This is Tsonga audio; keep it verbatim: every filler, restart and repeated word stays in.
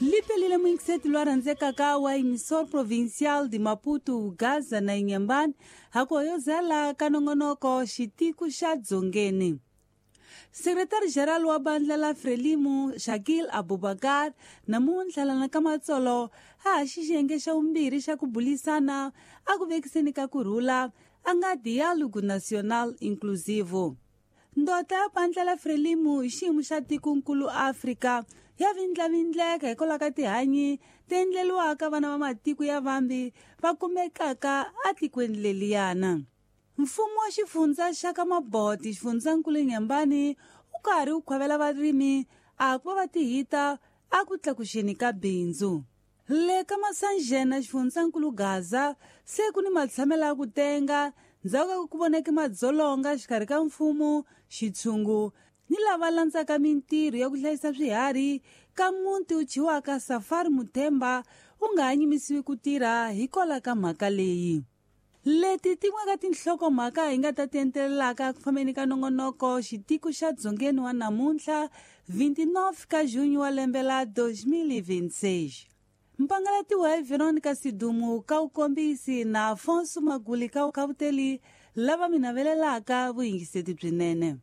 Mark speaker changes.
Speaker 1: Lipelile muyingiseti lwa rhandzekaka wa Emissor Provincial de Maputo, Gaza na Inhambane, hakoyozela ka nongonoko xitiku xa Dzongeni. Secretary-General wa bandla la Frelimo, Shakil Abubakar, namuntlha lana ka Matsolo, a ha xiyenge xa vumbirhi xa ku bulisana a ku vekiseni ka kurhula a nga Diálogo Nacional Inclusivo. Ndota ya bandla la Frelimo hi xiyimo xa tikonkulu Afrika ya vindlavindleka hikwalaho ka tihanyi ti endleriwaka vana va matiko ya vambi va kumekaka atikweni leliyana. Mfumo wa xifundza xa ka Maboti xifundzankulu Inhambane wu karhi wu khwavela varimi a ku va va tihita a ku tlakuxeni ka bindzu. Le ka Masanjena xifundzankulu Gaza se ku ni matshamelo ya ku tenga ndzhaku ka ku voneke madzolonga xikarhi ka mfumo, xitshungu ni lava landzaka mintirho ya ku hlayisa swiharhi ka muti wu thyiwaka Safari Muthemba wu nga ha nyimisiwi ku tirha hikwalaho ka mhaka leyi. Leti tin'we ka tinhlokomhaka hi nga ta ti entelelaka ku fambeni ka nongonoko xitiko xa Dzongeni wa namuntlha vinte e nove ka junho wa lembe la dois mil e vinte e seis. Mpangalatiwa hi Veronica Sidumu ka wukombisi na Afonso Maguli ka vukavuteli lava mi navelelaka vuyingiseti byinene.